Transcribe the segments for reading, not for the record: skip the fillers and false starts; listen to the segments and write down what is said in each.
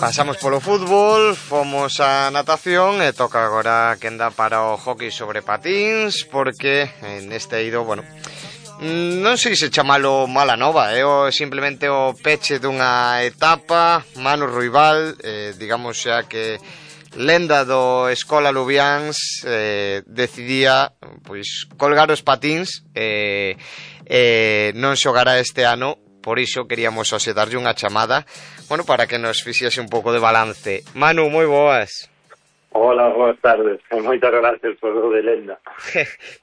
Pasamos polo fútbol, fomos a natación e toca agora que anda para o hockey sobre patíns, porque neste eido, bueno, non sei se chamalo mala nova, simplemente o peche dunha etapa. Manu Ruibal, digamos xa que lenda do Escola Lubiáns, decidía pois colgar os patíns e non xogará este ano. Por iso queríamos hoxe darlle unha chamada, bueno, para que nos fixese un pouco de balance. Manu, moi boas. Hola, boas tardes. Moitas gracias por o de lenda.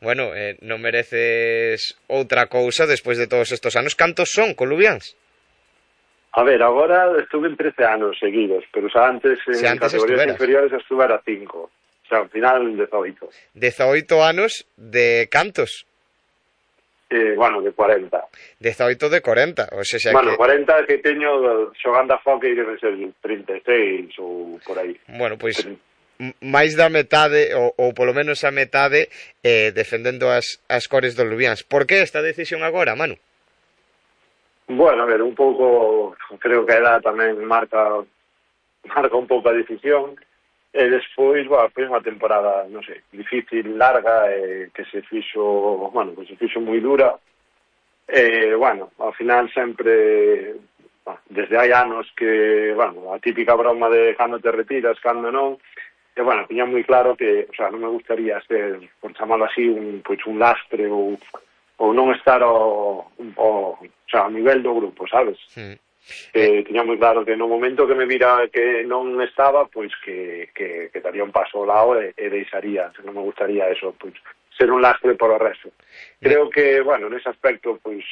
Bueno, non mereces outra cousa despois de todos estos anos. Cantos son con Lubiáns? A ver, agora estuve en 13 anos seguidos, pero xa antes en categorías inferiores estuvera 5. O sea, ao final 18. 18 anos de cantos? Bueno, de 40. 18 de 40, o sea, bueno, que... 40 que teño xogando a hockey debe ser 36 ou por aí. Bueno, pois máis da metade, ou polo menos a metade, defendendo as cores do Lubiáns. Por que esta decisión agora, Manu? Bueno, a ver, un pouco, creo que a edad tamén marca un pouco a decisión. E despois, bueno, foi unha temporada, non sei, difícil, larga, que se fixo moi dura. Bueno, ao final sempre, desde hai anos que, bueno, a típica broma de cando te retiras, cando non, e, bueno, tiña moi claro que, o sea, non me gustaría ser, por chamarlo así, un lastre ou non estar ao nivel do grupo, sabes? Sí. Tiña moi claro que no momento que me vira que non estaba, pois que daría un paso ao lado e deixaría, non me gustaría eso, pois ser un lastre por o resto. Creo que, bueno, nese aspecto, pois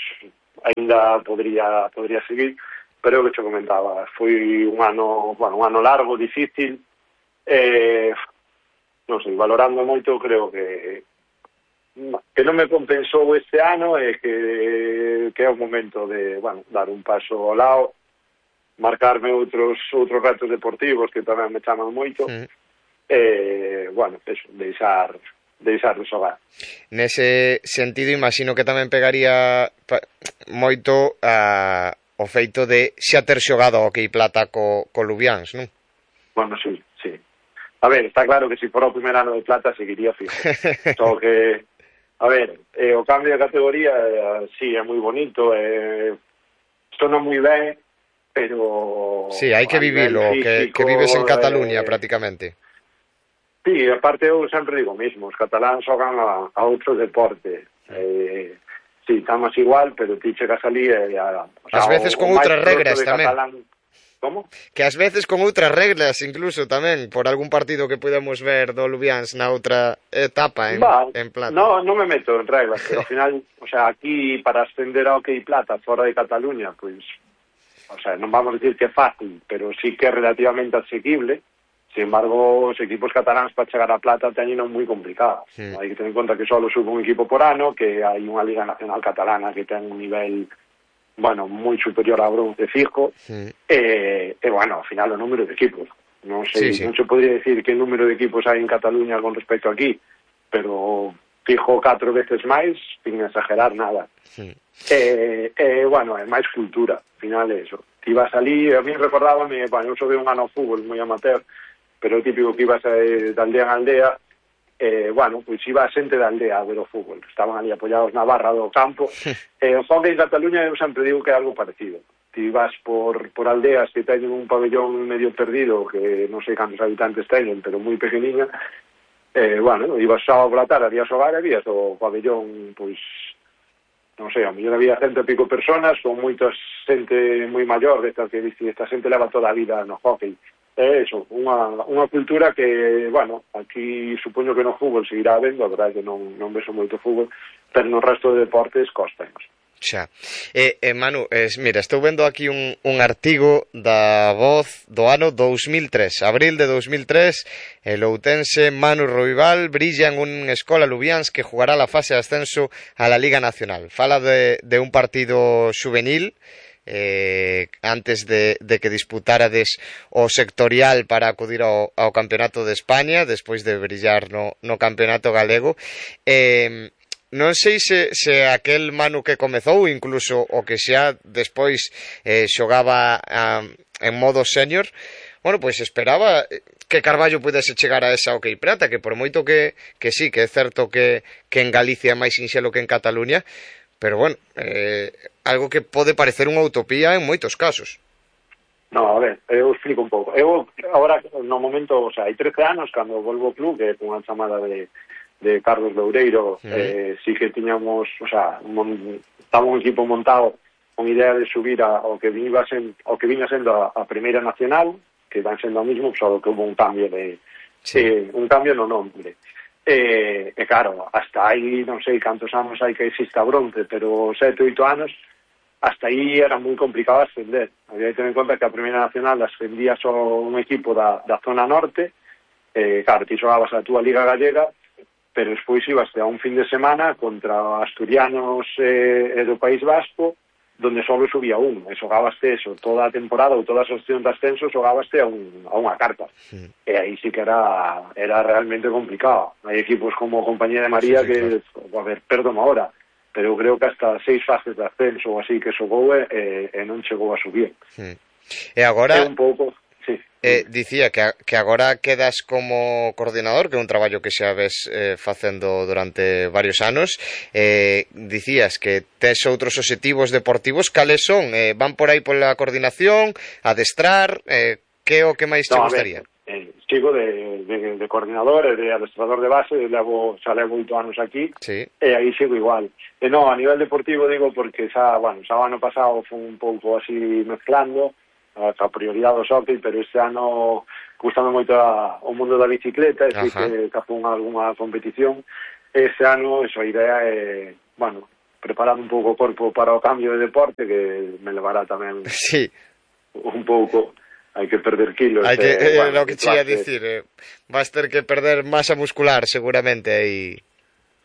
ainda podría seguir, pero o que te comentaba, foi un ano largo, difícil, non sei, valorando moito, creo que non me compensou este ano e que é o momento de, bueno, dar un paso ao lado, marcarme outros retos deportivos que tamén me chaman moito, bueno, eso, deixar de xogar. Nese sentido, imagino que tamén pegaría moito o feito de xa ter xogado ao hockey plata co Lubiáns, non? Bueno, sí. A ver, está claro que se for o primer ano de plata seguiría fijo. Só que a ver, o cambio de categoría sí, é moi bonito, sona moi ben, pero... Sí, hai que vivilo, físico, que vives en Cataluña prácticamente. Sí, aparte eu sempre digo o mismo, os cataláns xogan a outro deporte. Sí, estamos igual, pero ti chegas ali e... As veces con outras regras tamén. Como? Que ás veces con outras reglas, incluso tamén, por algún partido que podamos ver do Lubiáns na outra etapa en plata. Non me meto en reglas, pero ao final, o sea, aquí para ascender ao hockey plata fora de Cataluña, pois, o sea, non vamos a decir que é fácil, pero sí que é relativamente asequible. Sin embargo, os equipos cataláns para chegar a plata teñen moi complicado. Hai que tener en conta que só sube un equipo por ano, que hai unha Liga Nacional Catalana que ten un nivel... bueno, moi superior a bronce fijo, e bueno, ao final o número de equipos. Non sei, non se podría decir que número de equipos hai en Cataluña con respecto a aquí, pero fijo 4 veces máis, sin exagerar nada. Bueno, é máis cultura, ao final é eso. Ti vas ali, a mí recordábame, bueno, eu xoguei un ano ao fútbol moi amateur, pero o típico que ibas de aldea en aldea, bueno, pois iba a xente da aldea a ver o fútbol, estaban ali apoyados na barra do campo, o hockey en Cataluña eu sempre digo que é algo parecido. Ti vas por aldeas que teñen un pabellón medio perdido, que non sei cantos habitantes teñen, pero moi pequeniña, bueno, ibas sábado pola tarde, había xogar e vías o pabellón, pois, non sei, a mellor había 100 e pico personas, con moita xente moi maior, esta xente leva toda a vida no hockey. É eso, unha cultura que, bueno, aquí supoño que no fútbol seguirá habendo, a verdade que non vexo moito fútbol, pero no resto de deportes costanos. Xa. Manu, mira, estou vendo aquí un artigo da Voz do ano 2003, abril de 2003, el outense Manu Ruibal brilla en un Escola Lubiáns que jugará la fase de ascenso a la Liga Nacional. Fala de un partido juvenil, antes de que disputárades o sectorial para acudir ao Campeonato de España, despois de brillar no Campeonato Galego. Non sei se aquel Manu que comezou, incluso o que xa despois xogaba en modo senior, bueno, pois esperaba que Carballo pudese chegar a esa Hockey Prata, que por moito que sí, que é certo que en Galicia é máis sinxelo que en Cataluña, pero bueno, algo que pode parecer unha utopía en moitos casos. No, a ver, eu explico un pouco. Eu agora, no momento, o sea, hai 13 anos, cando volvo ao club, que con a chamada de Carlos Loureiro, sí que tiñamos, o sea, estaba un equipo montado con idea de subir ao que viña sendo a Primeira Nacional, que van sendo o mismo, só que hubo un cambio un cambio no nombre. E claro, hasta aí, non sei cantos anos hai que exista Bronce, pero 7, 8 anos, hasta aí era moi complicado ascender. Había que tener en conta que a Primeira Nacional ascendía só un equipo da zona norte, claro, ti xogabas a túa Liga Gallega, pero despois ibas a un fin de semana contra asturianos do País Vasco, donde só subía un, e xogabaste eso, toda a temporada ou todas as opcións de ascenso xogabaste a unha carta. E aí sí que era realmente complicado. Hai equipos como Compañía de María que, a ver, perdón ahora, pero eu creo que hasta 6 fases de ascenso ou así que xogou e non chegou a subir. E agora... É un pouco... Sí. Dicía que agora quedas como coordinador, que é un traballo que xa ves facendo durante varios anos. Dicías que tes outros obxectivos deportivos. Cales son? Van por aí pola coordinación, adestrar? Que é o que máis te gustaría? Sigo de coordinador e de adestrador de base, xa levo 8 anos aquí, e aí sigo igual. E non, a nivel deportivo digo porque xa o ano pasado foi un pouco así mezclando a prioridade do hockey, pero este ano gustando moito o mundo da bicicleta, e que capón algunha competición. Este ano, a idea é, preparar un pouco o corpo para o cambio de deporte, que me levará tamén un pouco. Hai que perder kilos. Hai que, lo que che ia dicir, vas ter que perder masa muscular, seguramente, aí.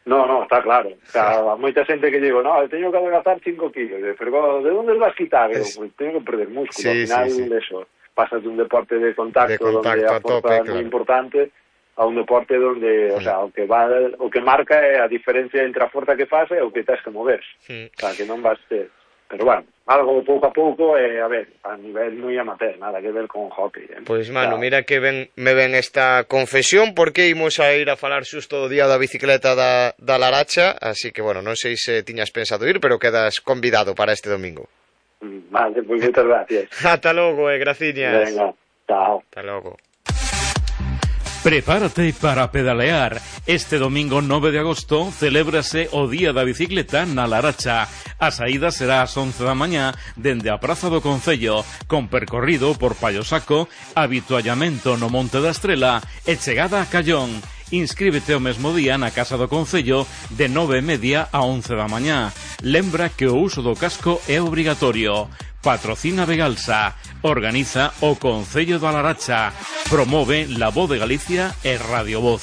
No, está claro. O sea, moita xente que digo, teño que adelgazar 5 kilos, pero ¿de dónde vas quitar? Pues teño que perder músculo. Al final, eso, pasas de un deporte de contacto donde a forza é moi importante, a un deporte donde, o sea, o que marca é a diferencia entre a forza que faz e o que tens que mover. O sea, que non vas ter... Pero bueno, algo pouco a pouco, a ver, a nivel moi amateur, nada que ver con hockey. Pois, mano, mira que me ven esta confesión, porque imos a ir a falar xusto o día da bicicleta da Laracha, así que, bueno, non sei se tiñas pensado ir, pero quedas convidado para este domingo. Vale, pois moitas gracias. Ata logo, graciñas. Venga, chao. Ata logo. Prepárate para pedalear. Este domingo 9 de agosto celébrase o Día da Bicicleta na Laracha. A saída será ás 11 da mañá dende a Praza do Concello, con percorrido por Pallosaco, habituallamento no Monte da Estrela e chegada a Callón. Inscríbete o mesmo día na Casa do Concello de 9:30 a 11 da mañá. Lembra que o uso do casco é obrigatorio. Patrocina Vegalsa. Organiza o Concello da Laracha. Promove La Voz de Galicia e Radio Voz.